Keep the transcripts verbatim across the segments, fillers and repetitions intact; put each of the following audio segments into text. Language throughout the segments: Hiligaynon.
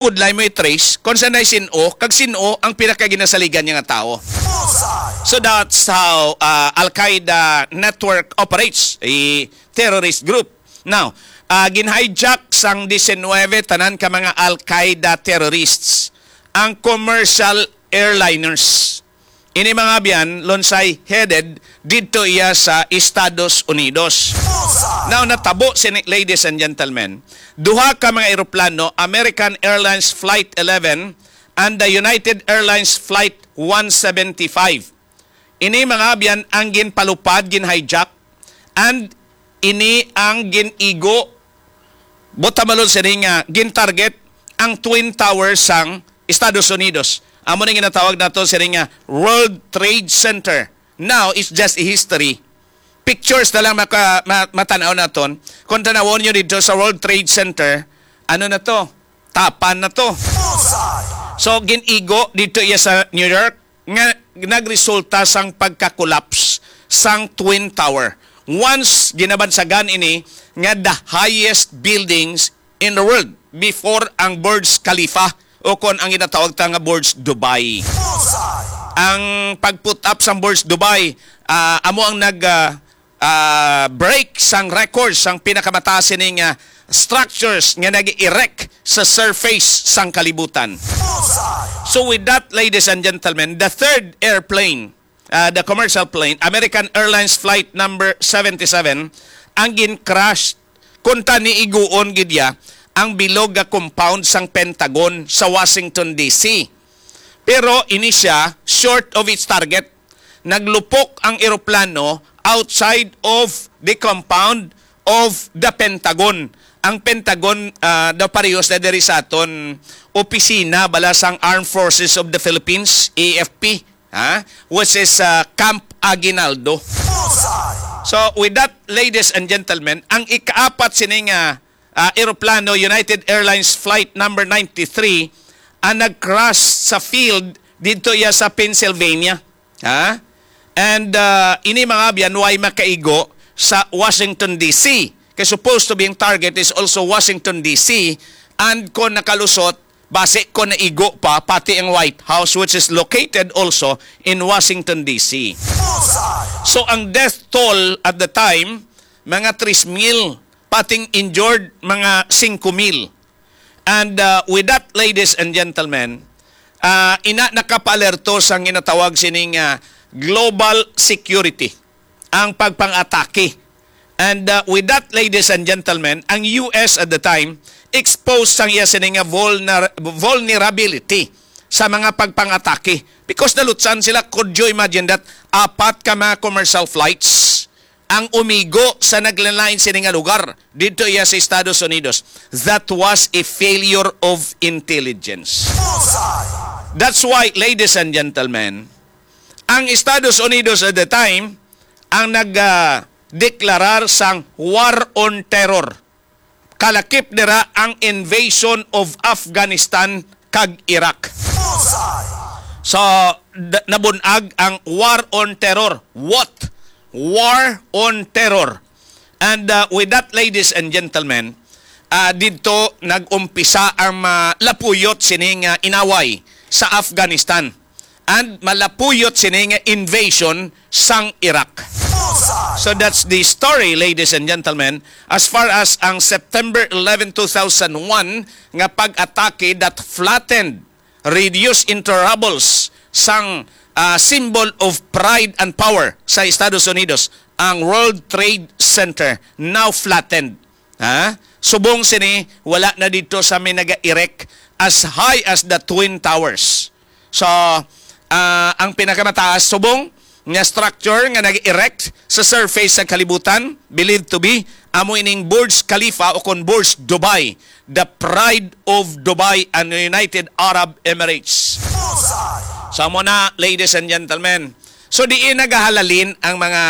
pudlay mo i-trace kung saan ay sin-o, kag sin-o ang pinakaginasaligan niya nga tawo. So that's how, uh, Al-Qaeda network operates, a terrorist group. Now, uh, gin-hijack sang diecinuebe tanan ka mga Al-Qaeda terrorists ang commercial airliners. Ini, mga abyan, Lonsay, headed didto iya sa Estados Unidos. Now, natabo sini, ladies and gentlemen, duha ka mga eroplano, American Airlines Flight eleven and the United Airlines Flight one seventy-five. Ini, mga abyan, ang ginpalupad, gin-hijack, and ini ang gin-igo, butamalon sini nga gin-target ang Twin Tower sang Estados Unidos. Amo ni ginatawag nato sini nga World Trade Center. Now, it's just a history. Pictures na lang maka, ma, matanaw naton. Kung tanawon nyo dito sa World Trade Center, ano na to? Tapan na to. So, gin-igo dito iya sa New York nga nagresulta sang pagka-collapse sang Twin Tower. Once ginabansagan ini nga the highest buildings in the world before ang Burj Khalifa, o kon ang ginatawag ta nga Burj Dubai. Ang pag-put up sang Burj Dubai, ah, amo ang nag, ah, ah, break sang record sang pinakamataas sining, ah, structures nga nag-erect sa surface sang kalibutan. So with that, ladies and gentlemen, the third airplane, ah, the commercial plane, American Airlines Flight number seventy-seven, ang gin-crash kung tani iguon gid ya ang bilog nga compound sang Pentagon sa Washington, D C. Pero ini siya short of its target. Naglupok ang eroplano outside of the compound of the Pentagon. Ang Pentagon, ah, daw parehas na diri sa aton opisina bala sang Armed Forces of the Philippines, A F P, ha? Which is, ah, Camp Aguinaldo. So, with that, ladies and gentlemen, ang ikaapat sini nga, ah, eroplano, United Airlines Flight number ninety-three, ang nag-crash sa field dito iya sa Pennsylvania. Ha? And, ah, ini, mga abyan, way makaigo sa Washington, D C. Kay supposed to be ang target is also Washington, D C. And kung nakalusot, basi ko naigo pa, pati ang White House, which is located also in Washington, D C. So, ang death toll at the time, mga three mil, pating injured, mga singko mil. And, uh, with that, ladies and gentlemen, uh, ina nakapaalerto sang ginatawag sining, uh, global security, ang pagpang-atake. And, uh, with that, ladies and gentlemen, ang U S at the time exposed sang iya sini nga vulner-, vulnerability sa mga pagpang-atake. Because nalutsan sila, could you imagine that? Apat ka mga commercial flights ang umigo sa naglain-lain sini nga lugar didto iya sa Estados Unidos. That was a failure of intelligence. That's why, ladies and gentlemen, ang Estados Unidos at the time ang nag, ah, deklarar sang war on terror. Kalakip dira ang invasion of Afghanistan kag Iraq. So, d-, nabun-ag ang war on terror. What? War on terror. And, uh, with that, ladies and gentlemen, uh, didto nag-umpisa ang malapuyot sining, uh, inaway sa Afghanistan. And malapuyot sini nga invasion sang Iraq. So that's the story, ladies and gentlemen. As far as ang September eleven, two thousand one nga pag-atake that flattened, reduced into rubbles sang, ah, symbol of pride and power sa Estados Unidos, ang World Trade Center, now flattened. Ha? Subong sini, wala na dito sa may naga-erect as high as the Twin Towers. So, ah, ang pinakamataas subong nga structure nga nag-erect sa surface sa kalibutan, believed to be, amo ining Burj Khalifa o kon Burj Dubai, the pride of Dubai and the United Arab Emirates. So, amo na, ladies and gentlemen. So, diin nagahalalin ang mga,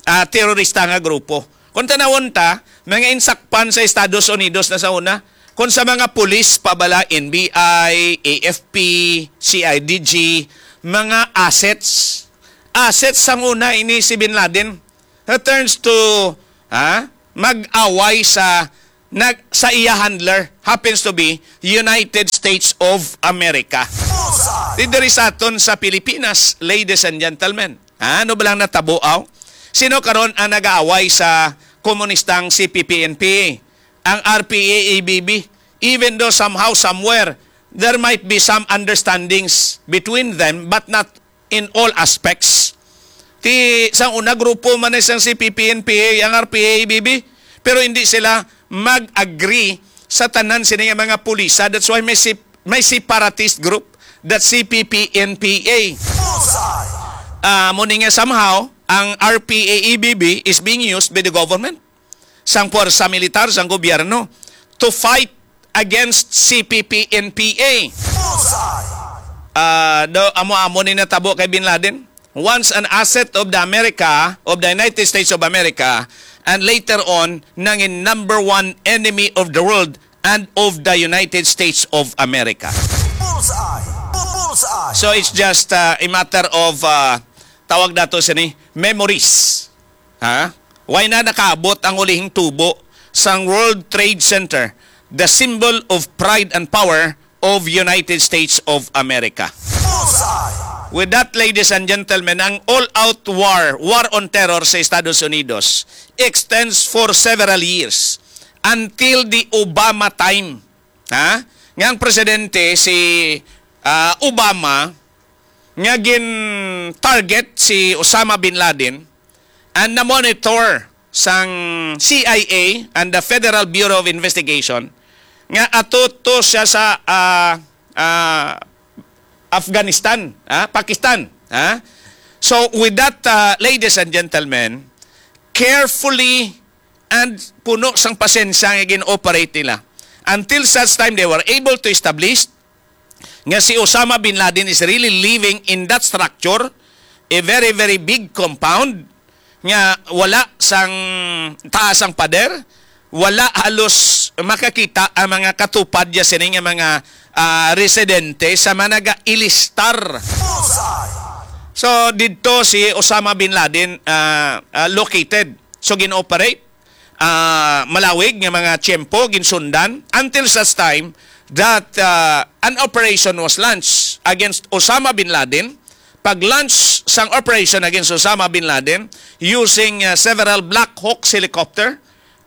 ah, terorista nga grupo. Kung tanawon ta, mga insakpan sa Estados Unidos na sa una, kung sa mga pulis pa bala, N B I, A F P, C I D G, mga assets. Assets sang una ini si Bin Laden. It turns to, ha, mag-away sa nag, sa iya handler happens to be United States of America. Di diri sa aton sa Pilipinas, ladies and gentlemen. Ano ba lang natabo, aw? Sino karon ang nag-aaway sa komunistang C P P N P A? Ang R P A A B B. Even though somehow, somewhere, there might be some understandings between them, but not in all aspects. Ti, sang una, grupo man ni sang C P P N P A ang R P A A B B, pero hindi sila mag-agree sa tanan sini nga mga pulisa. That's why may sip-, may separatist group, that C P P N P A. Bullseye! Ah, mo ni nga somehow, ang R P A A B B is being used by the government, sang puwersa militar, sang gobyerno, to fight against C P P N P A. Bullseye! Ah, do, amo-amo ni natabo kay Bin Laden. Once an asset of the America, of the United States of America, and later on, nangin number one enemy of the world and of the United States of America. Bullseye! Bu-, bullseye! So it's just, uh, a matter of, uh, tawag nato sini, memories. Ha? Why na nakaabot ang ulihing tubo sang World Trade Center, the symbol of pride and power of United States of America? Bullseye! With that, ladies and gentlemen, ang all-out war, war on terror sa Estados Unidos extends for several years until the Obama time. Ha? Nga ang presidente si, ah, Obama, nga gin-target si Osama bin Laden and na-monitor sang C I A and the Federal Bureau of Investigation nga ato to siya sa, ah, ah, Afghanistan, ha? Pakistan, ha? So, with that, ah, ladies and gentlemen, carefully and puno sang pasensya nga gin-operate nila until such time they were able to establish nga si Osama bin Laden is really living in that structure, a very, very big compound nga wala sang taas ang pader, wala halos makakita ang mga katupad ya sini nga mga, ah, residente sa mga nagailistar. Bullseye! So, didto si Osama bin Laden, ah, ah, located. So, gin-operate, ah, malawig nga mga tiyempo, ginsundan, until such time that, ah, an operation was launched against Osama bin Laden. Pag-launch sang operation against Osama bin Laden using, ah, several Black Hawks helicopter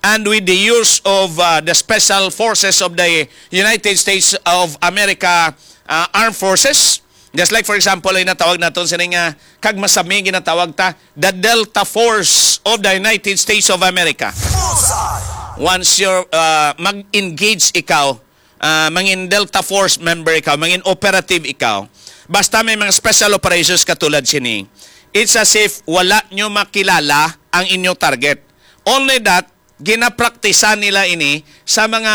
and with the use of, ah, the special forces of the United States of America, ah, Armed Forces, just like, for example, ay natawag naton sini nga, kag masami ginatawag ta, the Delta Force of the United States of America. Bullseye! Once you're, uh, mag-engage ikaw, uh, mangin Delta Force member ikaw, mangin operative ikaw, basta may mga special operations katulad sini, it's as if wala nyo makilala ang inyo target. Only that, ginapraktisan nila ini sa mga,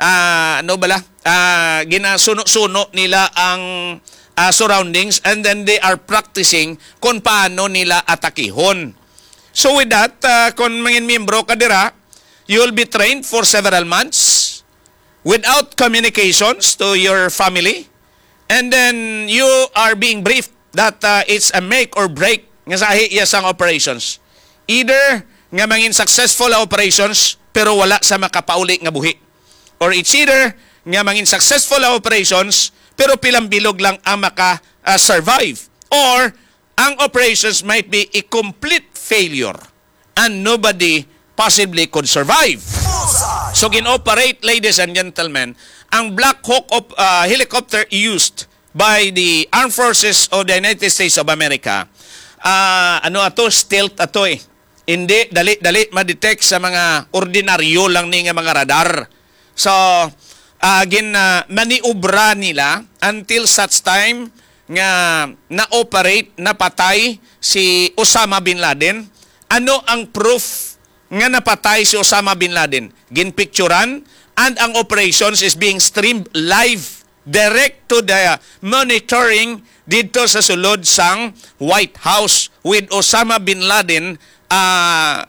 ah, ano bala? Ah, ginasuno-suno nila ang, ah, surroundings, and then they are practicing kung paano nila atakihon. So with that, ah, kung mangin miyembro ka dira, you will be trained for several months without communications to your family, and then you are being briefed that, uh, it's a make or break nga sahi iya sang operations. Either nga mangin successful ang operations pero wala sa makapauli nga buhi, or it's either nga mangin successful ang operations pero pilang bilog lang ang maka, uh, survive, or ang operations might be a complete failure and nobody possibly could survive. Bullseye! So, gin-operate, ladies and gentlemen, ang Black Hawk op-, ah, helicopter used by the Armed Forces of the United States of America. Ah, ano ato? Stealth ato eh. Hindi, dali-dali ma-detect sa mga ordinaryo lang ni nga mga radar. So, ah, gin, ah, maniobra nila until such time nga na-operate, napatay si Osama bin Laden. Ano ang proof nga napatay si Osama bin Laden? Ginpicturan, and ang operations is being streamed live direct to the monitoring didto sa sulod sang White House, with Osama bin Laden, ah,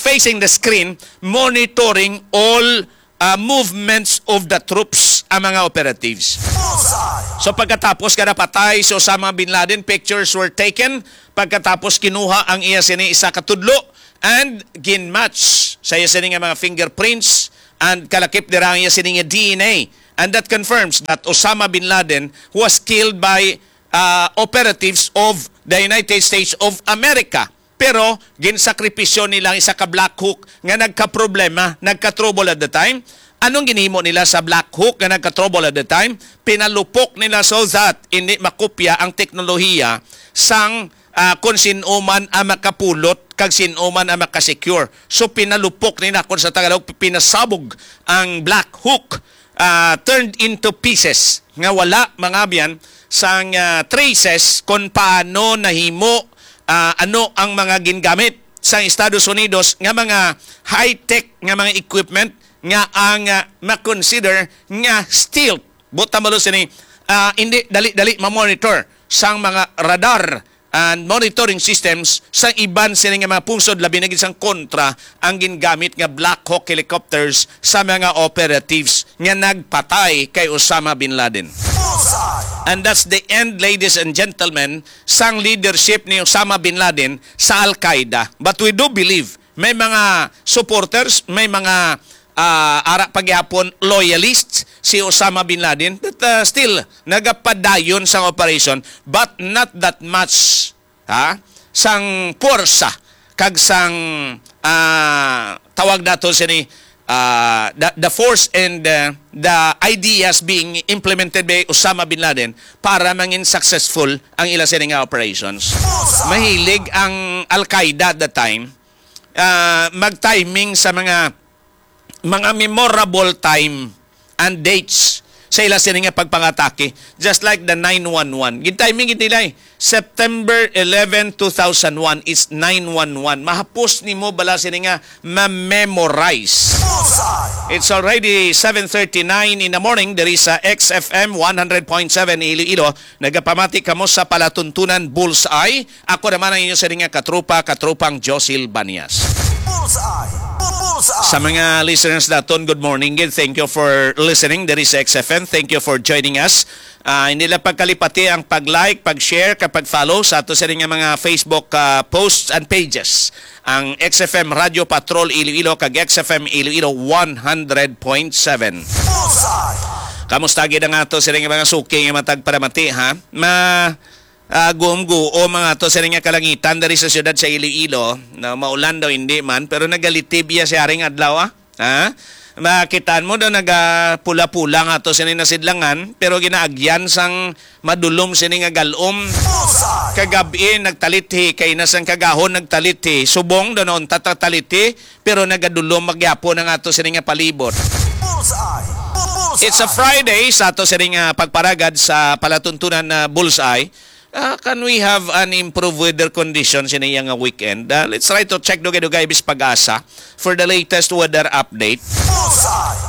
facing the screen, monitoring all, ah, movements of the troops, ang mga operatives. Bullseye! So, pagkatapos nga napatay si Osama bin Laden, pictures were taken. Pagkatapos, kinuha ang iya sini isa ka tudlo and ginmatch sa iya sini nga mga fingerprints And kalakip dira ang iya sining D N A. And that confirms that Osama bin Laden was killed by uh, operatives of the United States of America. Pero ginsakripisyo nila ang isa ka Black Hawk nga nagkaproblema, nagka-trouble at the time. Anong ginhimo nila sa Black Hawk nga nagka-trouble at the time? Pinalupok nila so that hindi makopya ang teknolohiya sang ah, kung sin-o man ang makapulot kag sin-o man ang makasecure. So pinalupok nila, kung sa Tagalog, pinasabog ang Black Hawk, ah, turned into pieces nga wala, mga abyan, sang ah, traces kung paano nahimo, ah, ano ang mga gingamit sang Estados Unidos nga mga high-tech nga mga equipment nga ang ah, ma-consider nga stealth. Buot silingon sini, ah, hindi dali-dali ma-monitor sang mga radar and monitoring systems sa iban sini nga mga pungsod, labi na gid sang kontra ang gingamit nga Black Hawk helicopters sa mga operatives nga nagpatay kay Osama bin Laden. And that's the end, ladies and gentlemen, sang leadership ni Osama bin Laden sa Al-Qaeda. But we do believe may mga supporters, may mga ah, ara pa gyapon loyalists si Osama bin Laden, but ah, still nagapadayon sang operation, but not that much, ha, sang puwersa kag sang ah, tawag nato sini, ah, the, the force and ah, the ideas being implemented by Osama bin Laden para mangin successful ang ila sini nga operations. Mahilig ang Al-Qaeda at the time ah, mag-timing sa mga mga memorable time and dates sa ila sini nga pagpangatake, just like the nine one one. Gin-timing gid nila eh. September eleven, two thousand one is nine one one. Mahapos nimo bala sini nga ma-memorize. It's already seven thirty-nine in the morning. There is a X F M one hundred point seven Iloilo. Nagapamati kamo sa palatuntunan Bullseye. Ako naman ang inyo sini nga katropa, katropang Josil Banias. Bullseye! Bu- Bullseye! Sa mga listeners naton, good morning gid. Thank you for listening. There is X F M. Thank you for joining us. Ah, hindi lang pagkalipati ang pag-like, pag-share, kag pag-follow sa ato sini nga mga Facebook ah, posts and pages. Ang X F M Radio Patrol Iloilo kag X F M Iloilo one hundred point seven. Bullseye! Kamusta gid ang ato sini nga mga suki nga matag palamati, ha? Ma ah, guom-guom ang ato sini nga kalangitan diri sa siyudad sa Iloilo. Na maulan daw hindi man, pero nagalitib iya si haring adlaw, ah. Ha? Makitaan mo daw nagapula-pula nga ato sini nasidlangan, pero ginaagyan sang madulom sini nga galom. Kagab-i nagtalithi, kay na sang kagahon nagtalithi, subong daw nauntat ang talithi, pero nagadulom magyapon ang ato sini nga palibot. It's a Friday sa ato sini nga pagparagad sa palatuntunan na Bullseye. Ah, can we have an improved weather condition sini iya nga weekend? Ah, let's try to check dugay-dugay bis pag-asa for the latest weather update.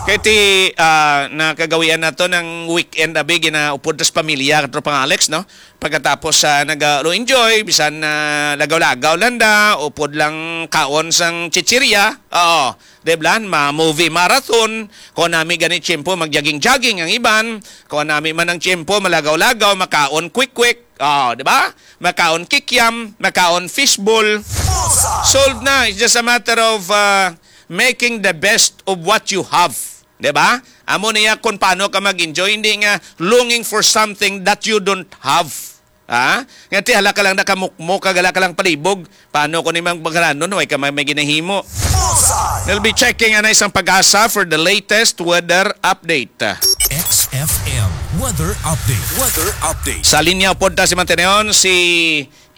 Kay ti ah, nakagawian nato ng weekend abi ginaupod tas pamilya, katropang Alex, no? Pagkatapos sa naga enjoy bisan na lagaw-lagaw lang da, upod lang kaon sang chichirya. Oo, di ba? Ma movie marathon. Kung nami gani tiyempo, mag-jogging-jogging ang iban. Kung nami man ang tiyempo, malagaw-lagaw, makaon quick-quick. Oh, di ba? Makaon kikiam, makaon fishball. Solved na. It's just a matter of uh, making the best of what you have. Di ba? Amo niya kung paano ka mag-enjoy, hindi nga longing for something that you don't have. Ha? Nga ti hala ka lang nakamukmok, kag hala ka lang palibog. Paano ko ni mang bangalanon, way ka may, may ginahimo? We'll be checking ang isang pag-asa for the latest weather update. X F M weather update. Weather update. Sa linya pod ta si Manteneon, si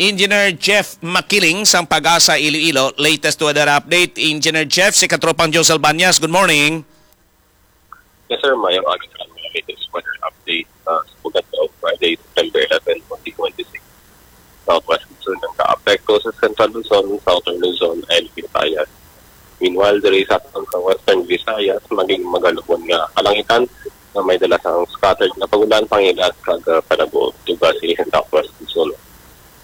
Engineer Jeff Makiling sang Pag-asa Iloilo. Latest weather update, Engineer Jeff, si Katropang Josel Banyas. Good morning. Yes, sir. Mayong aga sa mga latest weather update uh, sa pagkadlaw, Friday, September eleven, twenty twenty-six. Southwest Luzon ang kaapekto sa Central Luzon, Southern Luzon, and Visayas. Meanwhile, diri sa aton sa Western Visayas, maging magalubon nga kalangitan nga may dala sang scattered nga pag-ulan, pangilat, kag uh, panago duga sa Southwest Luzon.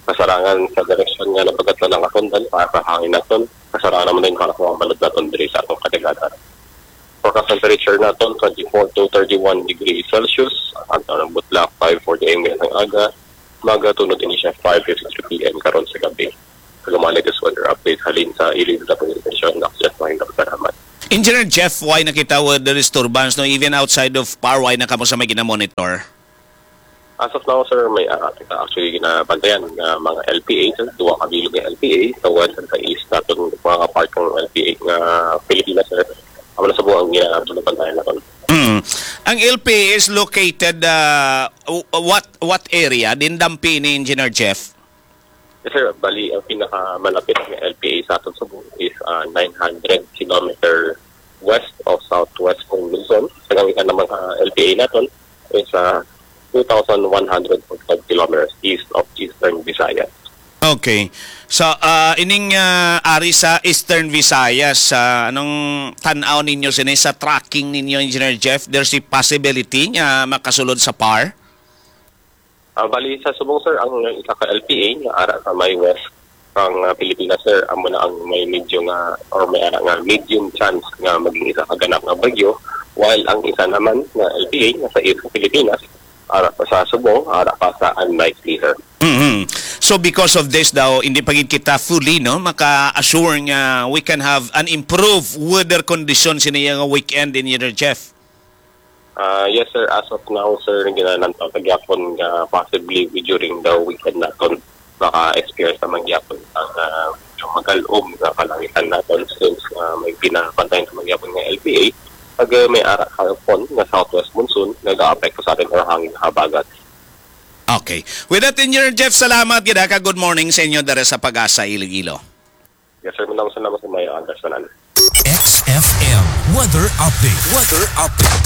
Kasarangan sa direksyon nga napagatlan ang aton dan para sa hangin naton, kasarangan naman din para sa mga balod naton diri sa atong kadagatan. Forecast temperature naton, twenty-four to thirty-one degrees Celsius. Ang tanang butlak, five forty A M ang aga. Magatunod ini siya, five fifty-three P M karon sa gabi. Lumalik is weather update halin sa Iloilo Public Station. Ako siya, Mahinda Salamat. Engineer Jeff, why nakita with the disturbance, no? Even outside of Parway na kamo sa may ginamonitor? As of now, sir, may, ah, kita actually ginabantayan nga mga L P A, sir. Duha ka bilog nga L P A sa west and sa east naton, mga part ng L P A nga Pilipinas, sir. Amo na sa buang ginabantayan naton. Mm. Ang L P A is located, ah, w-, what, what area? Din dampi ni Engineer Jeff? Yes, sir. Bali, ang pinakamalapit nga L P A sa aton subong is, ah, nine hundred kilometer west of Southwest Mong Luzon. Sa gamitan naman sa L P A naton is, ah, two thousand one hundred forty-five kilometers east of Eastern Visayas. Okay. So, ah, ining, ah, ari sa Eastern Visayas, sa anong tan-aw ninyo sini sa tracking ninyo, Engineer Jeff? There's a possibility nga makasulod sa par? Ah, bali, sa subong, sir, ang isa ka L P A nga ara sa may west sang, ah, Pilipinas, sir, amo na ang may medyo nga, or may ara nga medium chance nga maging isa ka ganap nga bagyo, while ang isa naman nga L P A nga sa east sa Pilipinas, ara pa sa subong, ara pa sa unlikely, sir. Mhm. So, because of this daw, hindi pa gid kita fully, no, maka-assure nga we can have an improved weather condition sini nga weekend, Engineer Jeff. Ah, yes, sir. As of now, sir, ginalantaw ta gyapon nga possibly during the weekend naton maka-experience naman gyapon ang, ah, medyo magal-om nga kalangitan naton since, ah, may pinapantayan naman gyapon nga L P A. Pag, ah, may ara hapon nga southwest monsoon, nag-aapekto sa atin or hangin habagat. Okay. With that, Engineer Jeff, salamat gid, ha, ka good morning sa inyo dere sa Pag-asa, Iloilo. Yes, sir. Maraming salamat sa may understanding. X F M weather update. Weather update.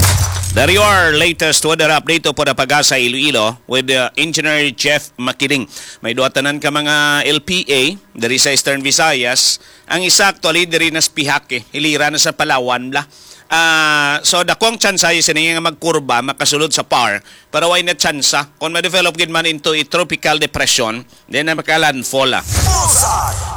There you are, latest weather update po na Pag-asa Iloilo with, uh, Engineer Jeff Makiling. May duha tanan ka mga L P A diri sa Eastern Visayas. Ang isa actually diri na sa Pihak, eh. Hilira na sa Palawan bla. Ah, so, dako ang tsansa sini nga magkurba, makasulod sa par, pero way na tsansa. Kung ma-develop gid man into a tropical depression, then na makalandfall, ah.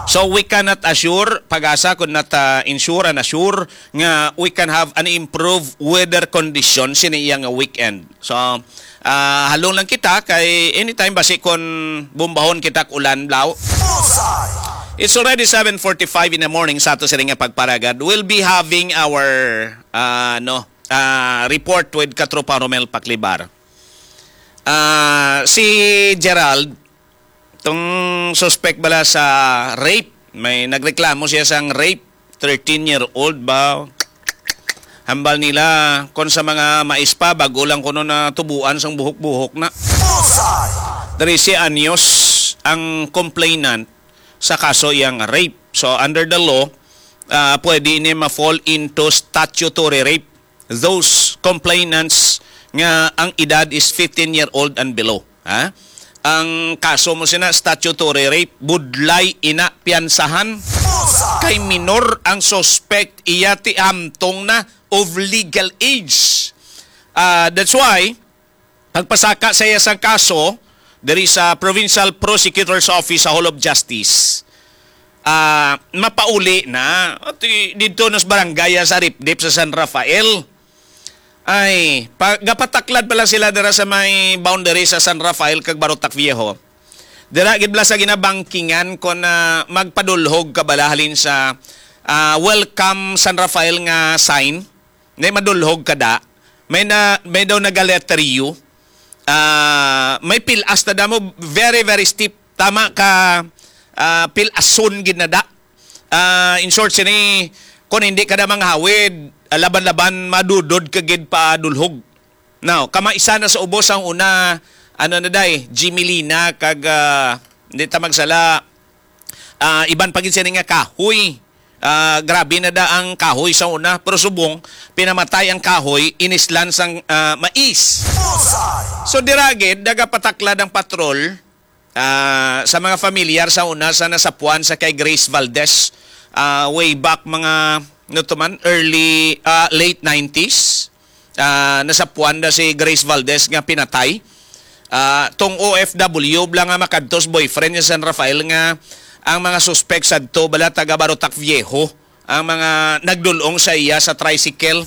So, we cannot assure, Pag-asa, could not, ah, ensure and assure nga we can have an improved weather condition sini iya nga weekend. So, ah, halong lang kita kay anytime basi kon bumbahon kita og ulan, blaw. It's already seven forty-five in the morning sa ato sini nga pagparagad. We'll be having our, ah, no, ah, report with Katropa Romel Paclibar. Ah, si Gerald, tong suspect bala sa rape, may nagreklamo siya sang rape, thirteen-year-old ba? Hambal nila, kon sa mga mais pa, bago lang kuno natubuan sang buhok-buhok na. Trese anyos ang complainant sa kaso iyang rape. So, under the law, ah, pwede ini ma-fall into statutory rape. Those complainants nga ang edad is fifteen-year-old and below. Ha? Ang kaso mo sina statutory rape, budlay ina piyansahan. Kay minor ang suspect, iya ti hamtong na of legal age. Ah, that's why, pagpasaka sa iya sang kaso diri sa Provincial Prosecutor's Office sa Hall of Justice, ah, mapauli na. At, eh, didto nas barangay, ah, sa Ripdip sa San Rafael. Ay, pa, gapataklad pala sila dira sa may boundary sa San Rafael kag Barotac Viejo. Dira gid bala sa ginabangkingan kon, ah, magpadulhog ka bala halin sa, ah, Welcome San Rafael nga sign. May madulhog ka da. May na, may daw nagaletter U. Ah, may pilas na damo, very, very steep. Tama ka, ah, pilason gid na da. Ah, in short, sini, kung hindi ka na manghawid, ah, laban-laban, madudod ka gid pa dulhog. Now, kamaisa na sa ubos ang una, ano na day, Jimelina, kag, ah, hindi ta magsala, ah, iban pa gid sini nga kahoy. Ah, grabe na da ang kahoy sa una, pero subong, pinamatay ang kahoy, inislan sang, ah, mais. So, dira gid, nagapataklad ang patrol, ah, sa mga familiar sa una sa nasapuan sa kay Grace Valdez, ah, way back mga, ano to man, early, ah, late nineties. Ah, nasapuan na si Grace Valdez nga pinatay. Ah, tong O F W bala nga makadto sa boyfriend niya sa San Rafael nga ang mga suspek sadto bala taga Barotac Viejo ang mga nagdulong sa iya sa tricycle.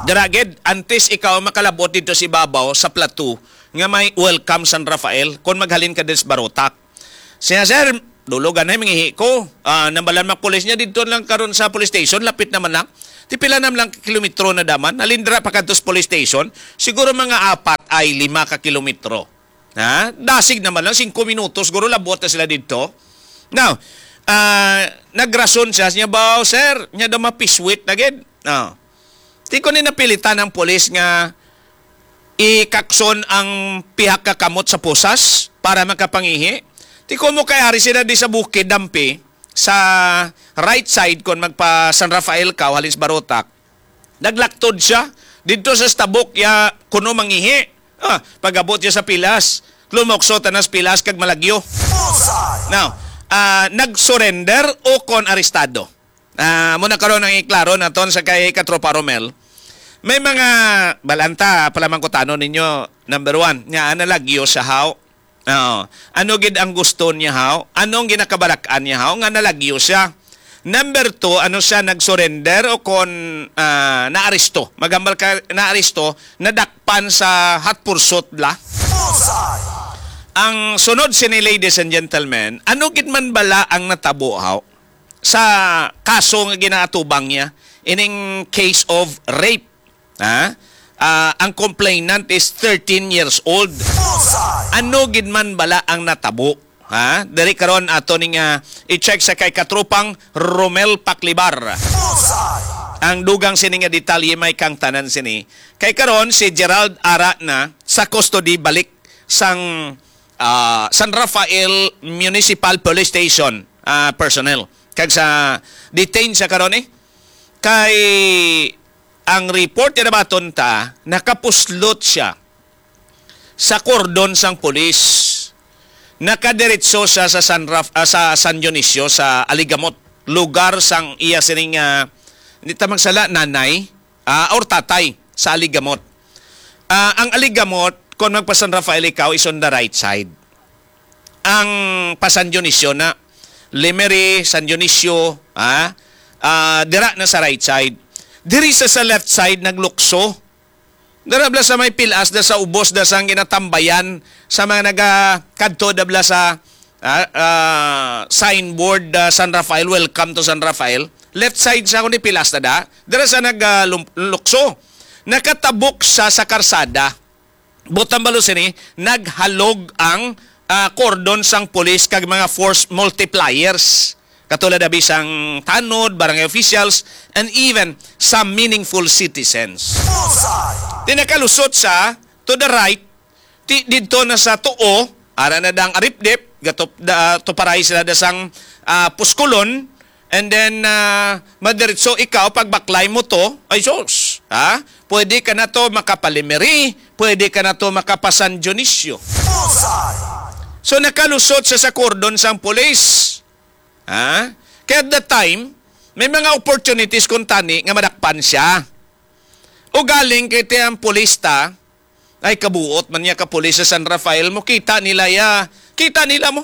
Dira gid, antes ikaw makalabot dito sa ibabaw sa plato nga may Welcome San Rafael, kung maghalin ka din sa Barotac. Siya, sir, Dulo ganay mangihi ko. Ah, nambalan mga pulis niya didto lang karon sa police station, lapit naman lang. Ti pila naman lang kilometro na daman. Halin dira pa kadto sa police station, siguro mga apat ay lima ka kilometro. Ha? Dasig naman lang, singko minutos, siguro labot na sila didto. Now, ah, nagrason siya, niya ba, "Sir, niya daw mapiswit na gid." Ah. Ti ko ni napilitan ang pulis nga ikakson ang pihak ka kamot sa pusas para makapangihi. Ti ko mo kay ari sila di sa bukid dampi sa right side kon magpa San Rafael ka o halin sa Barotac. Naglaktod siya didto sa stabok ya kuno mangihi. Ah, pag-abot siya sa pilas, lumukso tanan sa pilas kag malagyo. Now, ah, nag-surrender o kon arestado? Ah, mo na karon ang iklaro naton sa kay Katropa Romel. May mga balanta, palamang kutano ninyo, number one, nga nalagyo siya, haw. Oo. Ano gid ang gusto niya, haw? Anong ginakabarak-an niya, haw? Nga nalagyo siya. Number two, ano siya, nag-surrender o kon, ah, naaresto? Magambal ka, naaresto, nadakpan sa hot pursuit la. Ang sunod sini, ladies and gentlemen, ano gid man bala ang natabo, haw? Sa kaso nga ginaatubang niya, ining case of rape, ha? Ah, ang complainant is thirteen years old. Ano gid man bala ang natabo? Ha? Diri karon ato ni nga i-check sa kay katropang Romel Paklibar. Ang dugang sini nga detalye may kang tanan sini. Kay karon si Gerald ara na sa custody balik sang, ah, San Rafael Municipal Police Station, ah, personnel. Kag sa detain siya karon eh. Kay ang report nga nabaton ta, nakapuslot siya sa kordon sang pulis. Nakadiretso siya sa San Raf-, ah, sa San Dionisio, sa Aligamot, lugar sang iya sining, ah, hindi ta magsala, nanay, ah, or tatay sa Aligamot. Ah, ang Aligamot, kung magpa San Rafael ikaw, is on the right side. Ang pa San Dionisio na, Lemery, San Dionisio, ah, ah, dira na sa right side. Diri sa, sa left side, naglukso. Dara bala sa may pilas, da sa ubos, da sang ginatambayan sa mga naga-, kadto da bala sa, ah, ah, signboard, ah, San Rafael, "Welcome to San Rafael." Left side sa kuno ni pilas na da. Dara sa nag, ah, lum-, lukso. Nakatabok siya sa karsada. Butang balo sini, naghalog ang, ah, kordon sang pulis kag mga force multipliers. Katulad abi sang tanod, barangay officials, and even some meaningful citizens. Di nakalusot siya to the right, ti, didto na sa tuo, ara na dang aripdip, gatop, da, tuparay sila da sang, ah, puskulon, and then, ah, madiretso ikaw, pagbaklay mo to, ay sus, ha? Pwede ka na to makapalimeri, pwede ka na to makapasan Dionisio. So, nakalusot siya sa kordon sang pulis. Ha? Kaya at that time, may mga opportunities kung tani nga madakpan siya. O galing kay tiyang pulis ta, ay kabuot man niya ka pulis sa San Rafael mo, kita nila ya, kita nila mo.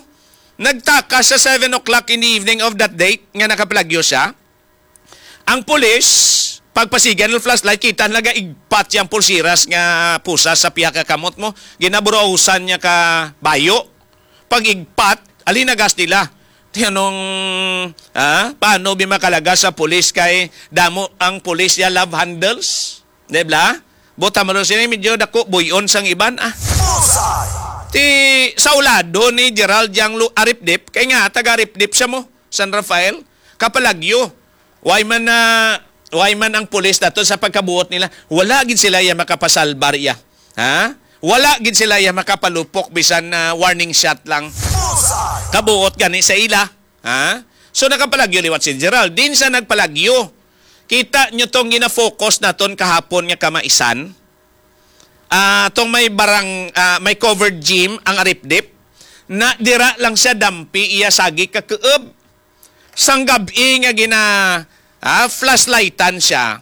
Nagtakas sa seven o'clock in the evening of that date nga nakapalagyo siya. Ang pulis, pagpasigan ng flashlight, kita nila igpat yang pulsiras nga pusa sa pihak ka kamot mo. Ginaburausan niya ka bayo. Pag igpat, alinagas nila. Tinanong, ah, paano bi makalagas sa pulis kay damo ang pulis ya love handles? Di ba? Buta mo sini medyo dako buyon sang iban, ah. Ti sa ulado ni Gerald yang lu aripdip, kay nga taga aripdip siya mo, San Rafael, kapalagyo. Why man na, why man ang pulis nato sa pagkabuot nila, wala gid sila ya makapasalbar iya. Ha? Wala gid sila ya makapalupok bisan na warning shot lang. Kabuot gani sa ila. Ha? So, nakapalagyo liwat si Gerald. Din sa nagpalagyo. Kita nyo tong gina-focus naton kahapon nga kamaisan. Ah, tong may barang, ah, may covered gym ang aripdip. Na dira lang siya dampi iya sagi ka kuob. Sang gab-i nga gina, ah, flashlightan siya.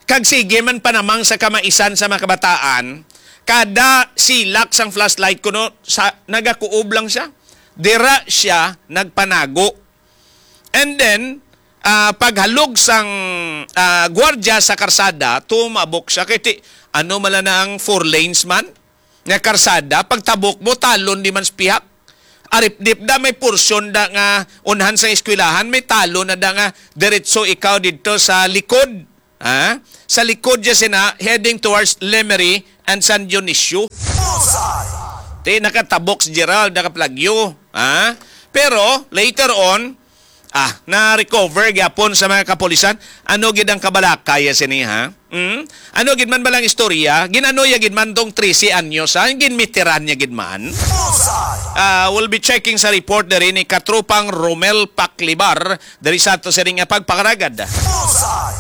Kag sige man panamang sa kamaisan sa mga kabataan, kada silak sang flashlight kuno sa nagakuob lang siya. Dira siya nagpanago. And then, ah, paghalog sang, ah, gwardya sa karsada, tumabok siya. Kay ti, ano mala na ang four lanes man? Nga karsada, pagtabok mo, talon di man sa pihak. Aripdip da, may porsyon da nga unhan sa eskwelahan, may talo na da nga diretso ikaw didto sa likod. Ha? Sa likod siya sina, heading towards Lemery and San Dionisio. Bullseye! Ti, nakatabok si Gerald, nakaplagyo. Ha? Pero, later on, ah, na-recover gyapon sa mga kapulisan. Ano gid ang kabalaka ya sini, ha? Hmm? Ano gid man balang istorya? Ginano ya gid man tong trese anyos, ha? Ginmitiran niya gid man. Bullseye! Ah, we'll be checking sa report diri ni Katropang Romel Paklibar diri sa ato sining nga pagpangaragad. Bullseye!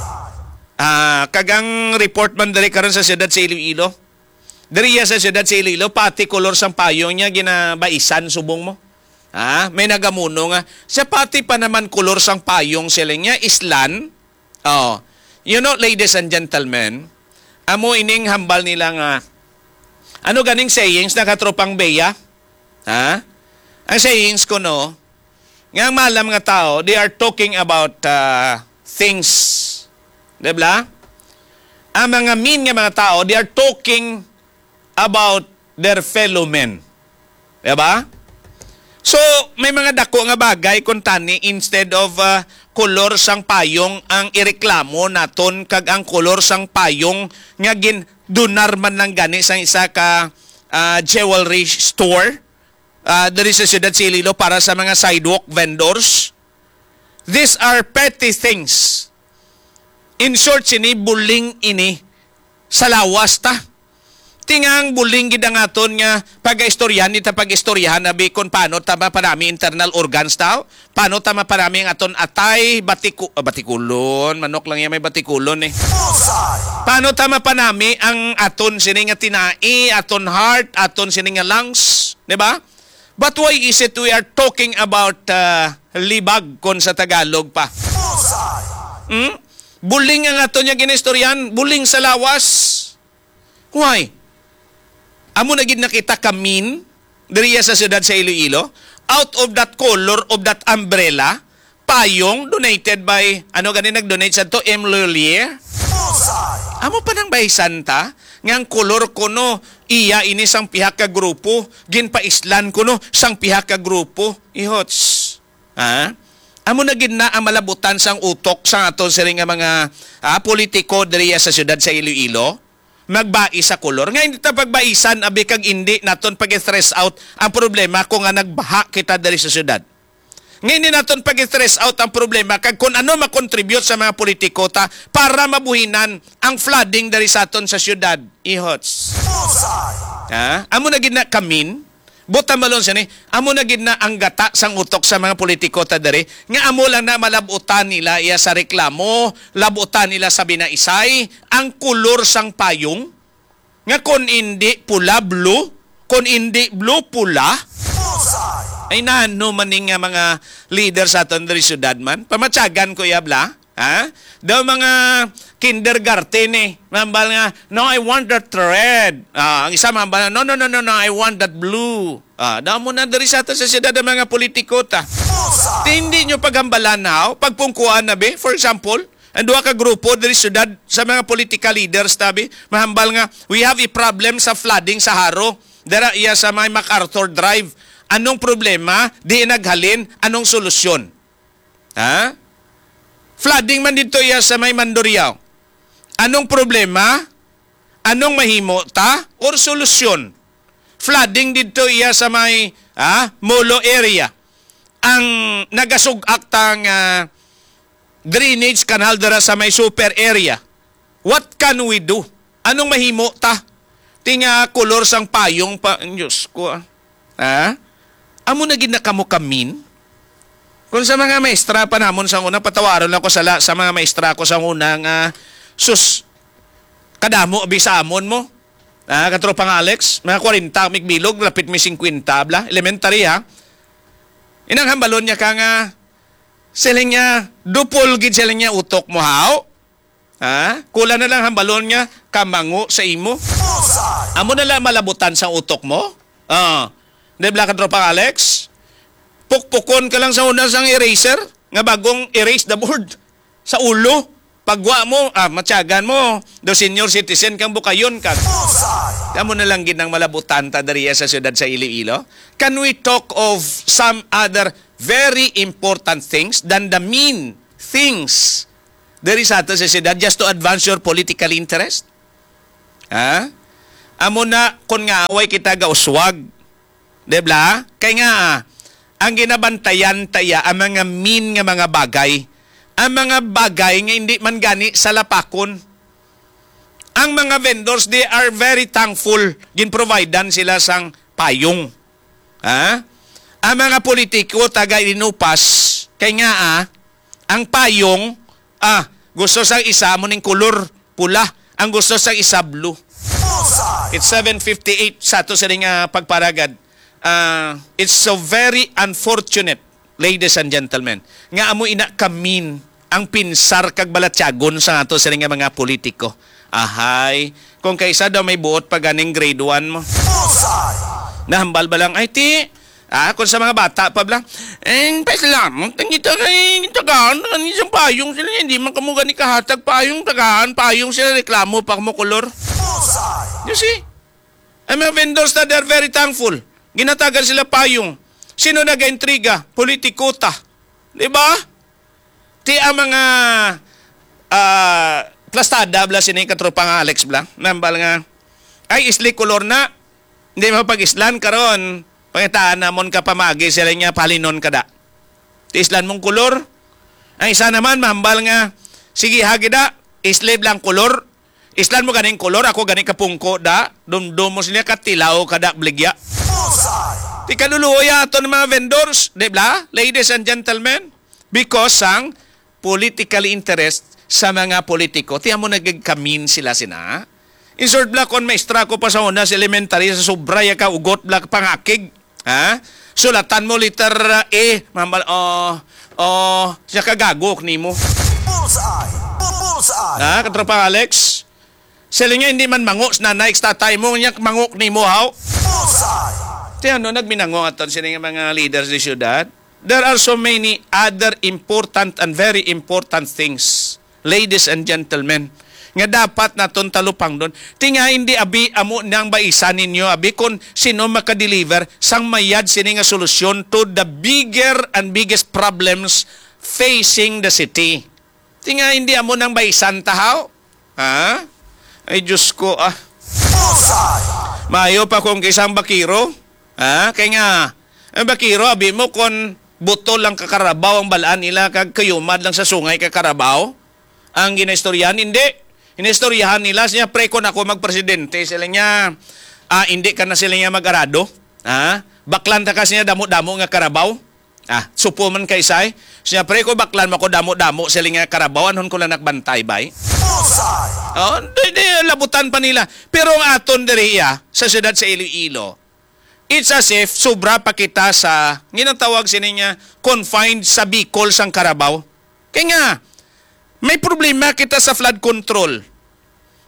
Ah, kag ang report man diri karon sa siyudad sa Iloilo. Diri ya sa siyudad sa Iloilo, pati kolor sang payong niya ginabaisan subong mo. Ha? May nagamuno nga, "Siya pati pa naman kolor sang payong," sila niya, islan. Oh. You know, ladies and gentlemen, amo ining hambal nila nga, ano ganing sayings na, Katropang Bea? Ha? Ang sayings ko, no, nga ang maalam nga tao, they are talking about, ah, things. Di ba? Ang mga mean nga mga tao, they are talking about their fellow men. Di ba? So, may mga dako nga bagay kung tani, instead of, ah, kolor sang payong ang ireklamo naton kag ang kolor sang payong nga gindunar man lang gani sang isa ka, ah, jewelry store, ah, diri sa siyudad sa Iloilo para sa mga sidewalk vendors. These are petty things. In short, sini buling ini sa lawas ta. Tingang buling gid ang aton nga pag-istoryahan, ni ta pag-istoryahan abi kon paano ta mapanami internal organs ta, paano ta mapanami ang aton atay, batiku-, ah, batikulon, manok lang yan may batikulon eh. Bullseye! Paano ta mapanami ang aton sini nga tinai, aton heart, aton sini nga lungs, di ba? But why is it we are talking about, uh, libag kon sa Tagalog pa? Bullseye! Hmm? Buling ang aton nga ginaistoryan, buling sa lawas. Why? Amo na gid nakita ka mean diriya sa siyudad sa Iloilo. Out of that color of that umbrella, payong donated by, ano gani nag-donate sa to, M. Lhuillier? Bullseye! Amo pa nang bahisan ta nga ang kolor kuno iya ini sang pihak ka grupo, ginpaislan kuno sang pihak ka grupo. Ihots. Ha? Amo na gid na ang malabutan sang utok sang aton sini nga mga, ah, politiko diriya sa siyudad sa Iloilo. Magbais sa kolor. Nga hindi ta pagbaisan, abi, kag hindi naton pag-stress out ang problema kung nga nagbaha kita diri sa syudad. Nga hindi naton pag-stress out ang problema kag kung ano makontribute sa mga politiko ta para mabuhinan ang flooding diri sa aton sa syudad. Ihots. Bullseye! Ha? Amo na gid na kamin. Buta malon siya ni. Amo na gid na ang gata sang utok sa mga politiko ta diri. Nga amo lang na malabutan nila iya sa reklamo, labutan nila sa binaisay, ang kulor sang payong. Nga kon indi pula, blue, kon indi blue, pula. Bullseye! Ay, nano man ni nga mga leader sa aton diri syudad man? Pamatyagan ko iya, bla? Ha? Daw mga kindergarten eh. Mahambal nga, "No, I want that red." Ah, ang isa mahambal nga, "No, no, no, no, no, I want that blue." Ah, daw mo na diri sa ato sa syudad ang mga politiko ta. Bullseye! Ti hindi nyo paghambalan, haw? Pagpungkuan na, be? For example, ang duha ka grupo diri sa syudad sa mga political leaders, tabi, mahambal nga, "We have a problem sa flooding sa Jaro. Dara iya sa may MacArthur Drive. Anong problema? Di naghalin? Anong solusyon?" Ha? Flooding man dito iya sa may Mandurriao. Anong problema? Anong mahimo ta? Or solusyon? Flooding dito iya sa may, ha, Molo area. Ang nagasug-ak ta nga drainage canal dira sa may super area. What can we do? Anong mahimo ta? Ti nga kolor sang payong pa, Diyos ko, ah. Ha? Amo na gid na kamo kamin? Kung sa mga maestra pa namon sa una, patawaron lang ko sala sa mga maestra ko sa una nga, sus, kadamo abi sa amon mo. Ah, katropang Alex, mga kwarenta mig bilog, lapit mi singkwenta, bla, elementary, ha. Inang hambalon niya ka nga, siling niya, dupol gid siling niya utok mo, haw? Ha? Kulang na lang hambalon nga kamango sa imo. Bullseye! Amo na lang malabutan sa utok mo. Ah. Di ba, katropang Alex? Pukpukon ka lang sa una sang eraser nga bagong erase the board. Sa ulo, pagwa mo, ah, matyagan mo, daw senior citizen kang bukayon ka. Bullseye! Amo na lang gid ang malabutan ta diriya sa siyudad sa Iloilo. Can we talk of some other very important things than the main things diri sa ato sa siyudad just to advance your political interest? Ha? Amo na, kung nga away kita gauswag, di ba? Kay nga, ah, ang ginabantayan taya ang mga main nga mga bagay, ang mga bagay nga hindi man gani salapakon. Ang mga vendors, they are very thankful. Ginprovidean sila sang payong. Ha? Ang mga politiko taga Inupas, kay nga, ah, ang payong, ah, gusto sang isa mo ning kulor pula, ang gusto sang isa blue. It's seven fifty-eight sa ato sini nga pagparagad. Ah, it's so very unfortunate, ladies and gentlemen, nga amo ina kamin ang pinsar kag balatyagon sa ato sini nga mga politiko. Ahay, kung kaisa daw may buot pa ganing grade one mo. Nahambal ba lang, ay ti, ah, kung sa mga bata pa bla, eh, pasalamat ang kita kay tagaan, ang isang payong sila, hindi man kamo gani kahatag payong, tagaan, payong sila, reklamo pa mo kolor. You see? Ang mga vendors na, they're very thankful. Ginatagan sila payong. Sino nagaintriga? Politiko ta. Di ba? Ti ang mga, ah, plastada bla sini, katropa nga Alex bla. Nambal nga, ay, isli kolor na. Hindi mapag-islan karon. Pangitaan namon ka pamagi sila niya, palinon ka da. Ti islan mong kolor. Ang isa naman, mahambal nga, sige, hagi da, isli lang kolor. Islan mo ganing kolor, ako ganing kapungko da. Dumdum mo sila, katilaw ka da, bligya. Ti kaluluoy aton mga vendors, di ba? Ladies and gentlemen, because sang political interest sa mga politiko. Ti amo nagagkamin sila sina. In short, bla, kon maestra ko pa sa una sa elementary, sa sobra ya ka ugot, bla, pangakig. Ha? Sulatan mo letter A, mambal, oh, oh, siya kagagok nimo. Bullseye! Bullseye! Ha, katropa Alex? Sila nga hindi man mango sa nanay, sa tatay mo, niya mango nimo, haw? Bullseye! Ti ano, nagminango aton sini nga mga leaders di syudad. There are so many other important and very important things, ladies and gentlemen, nga dapat naton talupangdon. Ti nga hindi abi amo nang baisan ninyo, abi, kung sino makadeliver sang mayad sini nga solusyon to the bigger and biggest problems facing the city. Ti nga hindi amo nang baisan ta, haw? Ha? Ay, Diyos ko, ah. Bullseye! Maayo pa kung kisang bakiro. Ha? Kay nga, ang bakiro, abi mo, kon butol lang ka karabaw ang balaan nila, kag kayumad lang sa sungay ka karabaw ang ginaistoryahan, hindi. Inistoryahan nila, siya, "Pre, kon ako magpresidente," sila niya, ah, hindi ka na sila niya mag-arado. Ha? Baklan ta ka siya damo-damo nga karabaw. Ah, supo man kay say. Siya, "Pre, kon baklan mo ko damo-damo sila nga karabaw, anhon ko lang nagbantay, bay?" Bullseye! Oh, di, di, labutan pa nila. Pero ang aton diri, ah, sa siyudad sa Iloilo, it's as if sobra pa kita sa ginatawag sini nga confined sa Bicol sang karabaw. Kay nga, may problema kita sa flood control.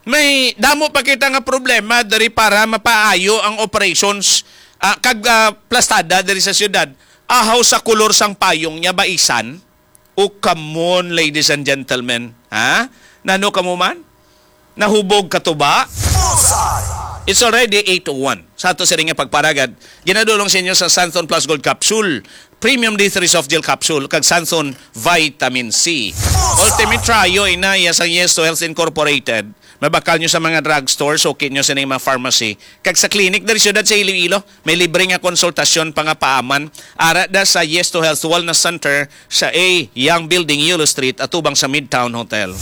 May damo pa kita nga problema diri para mapaayo ang operations, ah, kag, ah, plastada diri sa siyudad. Ahaw sa kolor sang payong niya, baisan. O, come on, ladies and gentlemen. Ha? Nano kamo man? Nahubog ka to ba? Bullseye! It's already eight oh one. Sa ato sini nga pagparagad, ginadulong sa inyo sa Santhon Plus Gold Capsule, Premium D three Soft Gel Capsule, kag Santhon Vitamin C. Bullseye! Ultimate Trio, inaya sang Yes to Health Incorporated. Mabakal nyo sa mga drugstore, suki nyo sa inyong mga pharmacy. Kag sa clinic diri siyudad sa Iloilo, may libre nga konsultasyon pa nga paaman. Ara da sa Yes to Health Wellness Center sa A Young Building, Yulo Street, atubang sa Midtown Hotel.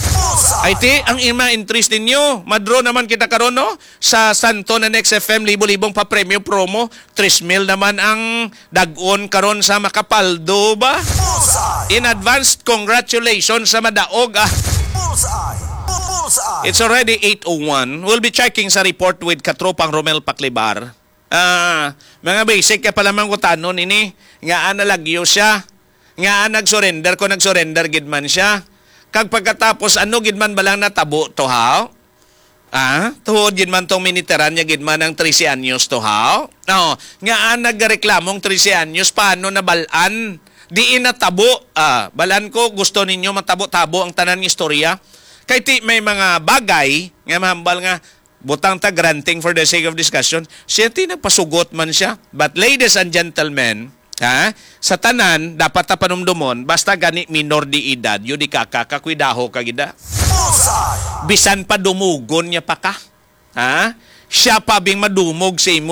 Ay ti, ang ima entries ninyo. Madro naman kita karon, no? Sa Santon and X F M, libo-libong pa premyo promo. Tres mil naman ang dag-on karon sa makapaldo ba? Bullseye! In advance, congratulations sa madaog, ah. Bullseye! Bu-, bullseye! It's already eight oh one. We'll be checking sa report with Katropang Romel Paklibar. Ah, mga basic ka pa lamang kutanon ini. Nga nalagyo siya. Nga nag-surrender ko, nag-surrender gid man siya. Kag pagkatapos, ano gid man balang natabo to, ha? Ah, tuhod gid man tong miniteran niya gid man ang trese anyos to, ha? No, nga nagreklamong trese anyos, paano nabalaan? Diin natabo? Ah, balaan ko, gusto ninyo matabo-tabo ang tanan nga istorya? Kay ti may mga bagay nga mahambal nga Butang ta granting for the sake of discussion, siya ti nagpasugot man siya. But ladies and gentlemen, ha, sa tanan, dapat ta panumdumon, basta gani minor de edad, yun di ka, ka, kakwidaho ka gida. Bisan pa dumugon niya pa ka, ha? Siya pa bing madumog sa imo.